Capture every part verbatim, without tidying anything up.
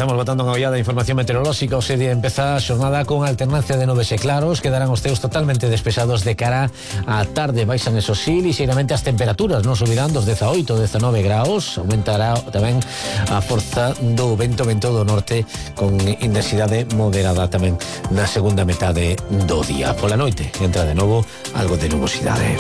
Comezamos botando unha ollada de información meteorolóxica. O día empeza a xornada con alternancia de nubes e claros. Quedarán os ceos totalmente despejados de cara á tarde. Baixan eso sí, lixeiramente as temperaturas non subirán dos dezaoito, dezanove graus. Aumentará tamén a forza do vento, vento do norte con intensidade moderada tamén na segunda metade do día. Pola noite entra de novo algo de nubosidade.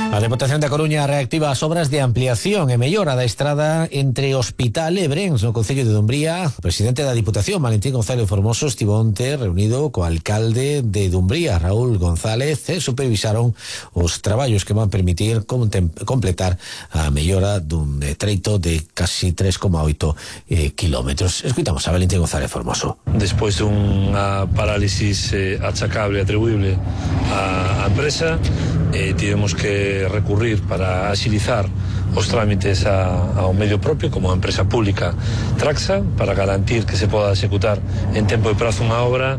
A Deputación da Coruña reactiva as obras de ampliación e mellora da estrada entre Hospital e Brens no concello de Dumbría. O presidente da Diputación, Valentín González Formoso, estivo onte reunido co alcalde de Dumbría, Raúl González, e supervisaron os traballos que van permitir completar a mellora dun treito de casi tres coma oito eh, kilómetros. Escuitamos a Valentín González Formoso. Despois dunha parálisis eh, achacable, atribuible á empresa, eh, tivemos que recurrir para axilizar os trámites a, ao medio propio como a empresa pública Traxa, para garantir que se poda executar en tempo e prazo unha obra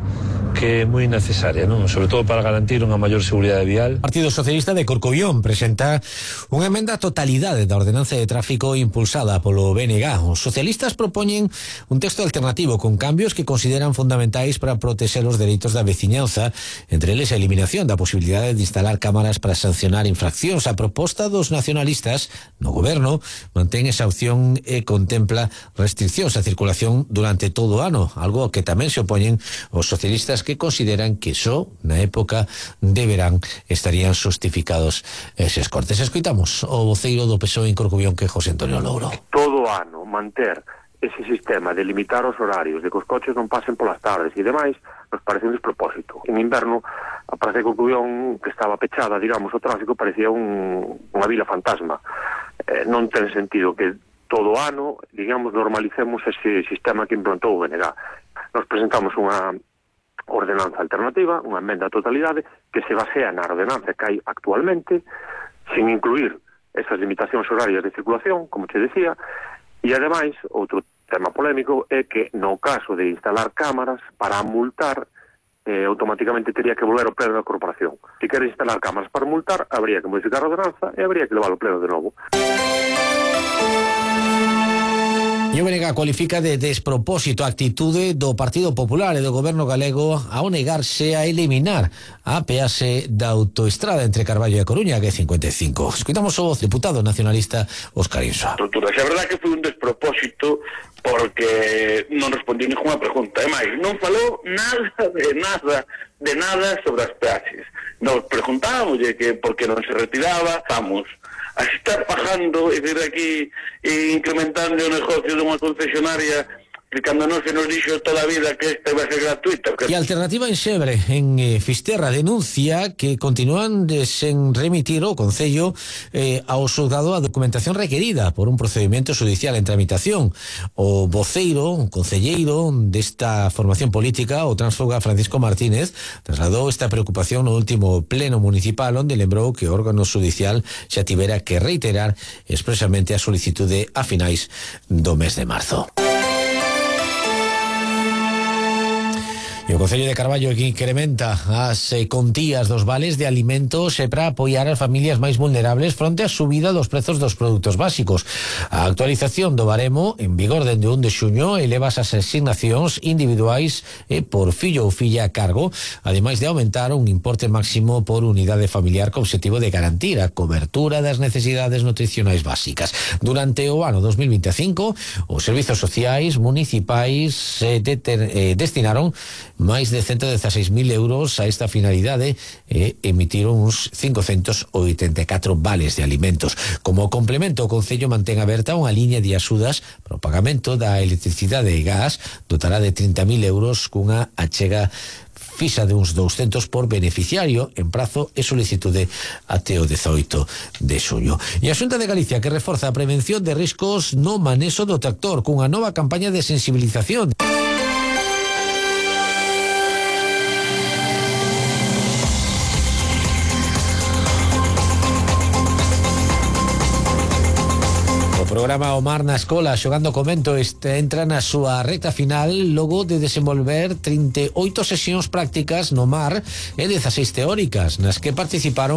que é moi necesaria, non? Sobre todo para garantir unha maior seguridade vial. O Partido Socialista de Corcobión presenta unha emenda á totalidade da ordenanza de tráfico impulsada polo B N G. Os socialistas propoñen un texto alternativo con cambios que consideran fundamentais para proteger os dereitos da veciñanza, entre eles a eliminación da posibilidade de instalar cámaras para sancionar infraccións. A proposta dos nacionalistas no goberno mantén esa opción e contempla restriccións á circulación durante todo o ano, algo que tamén se opoñen os socialistas, que consideran que só na época de verán estarían justificados eses cortes. Escoitamos o voceiro do P S O E en Corcobión, que é José Antonio Louro. Todo ano manter ese sistema de limitar os horarios, de que os coches non pasen polas tardes e demais, nos parece un despropósito. En inverno, a Praza de Corcobión, que estaba pechada, digamos, o tráfico, parecía un, unha vila fantasma. Eh, non ten sentido que todo ano, digamos, normalicemos ese sistema que implantou o B N G. Nos presentamos unha ordenanza alternativa, unha emenda a totalidade que se basea na ordenanza que hai actualmente, sin incluir esas limitacións horarias de circulación, como te decía, e ademais, outro tema polémico é que no caso de instalar cámaras para multar, eh, automáticamente teria que volver ao pleno da corporación. Se quere instalar cámaras para multar, habría que modificar a ordenanza e habría que levar ao pleno de novo. E o B N G cualifica de despropósito a actitude do Partido Popular e do Goberno galego ao negarse a eliminar a peaxe da autoestrada entre Carballo e a Coruña, que é cincuenta e cinco. Escuitamos o deputado nacionalista Óscar Insa. A verdade é que foi un despropósito porque non respondiu ninguna pregunta. E máis, non falou nada de nada de nada sobre as peaxes. Nos preguntábamos que por que non se retiraba, vamos a estar pagando e vir aquí e incrementando o negocio dunha concesionaria que cando non se nos dixo toda a vida que esta vai ser gratuita. E a alternativa en Xebre, en eh, Fisterra, denuncia que continúan de sen remitir o Concello eh, ao xulgado a documentación requerida por un procedimento judicial en tramitación. O voceiro, un concelleiro desta formación política, o transfoga Francisco Martínez, trasladou esta preocupación no último pleno municipal, onde lembrou que o órgano judicial xa tivera que reiterar expresamente a solicitude a finais do mes de marzo. E o Concello de Carballo que incrementa as eh, contías dos vales de alimentos e para apoiar as familias máis vulnerables fronte á subida dos prezos dos produtos básicos. A actualización do baremo en vigor dende o un de xuño eleva as asignacións individuais e por fillo ou filla a cargo, ademais de aumentar un importe máximo por unidade familiar co objetivo de garantir a cobertura das necesidades nutricionais básicas. Durante o ano dos mil veinticinco, os servizos sociais municipais eh, deter, eh, destinaron máis de ciento dieciséis mil euros a esta finalidade e emitiron uns cincocentos oitenta e catro vales de alimentos. Como complemento, o Concello mantén aberta unha liña de axudas para o pagamento da electricidade e gas, dotará de trinta mil euros cunha achega fixa de uns douscentos por beneficiario en prazo e solicitude até o dezaoito de xuño. E a Xunta de Galicia que reforza a prevención de riscos no manexo do tractor cunha nova campaña de sensibilización. programa O Mar na Escola xogando co vento este entra na súa recta final logo de desenvolver trinta e oito sesións prácticas no mar e dezaseis teóricas nas que participaron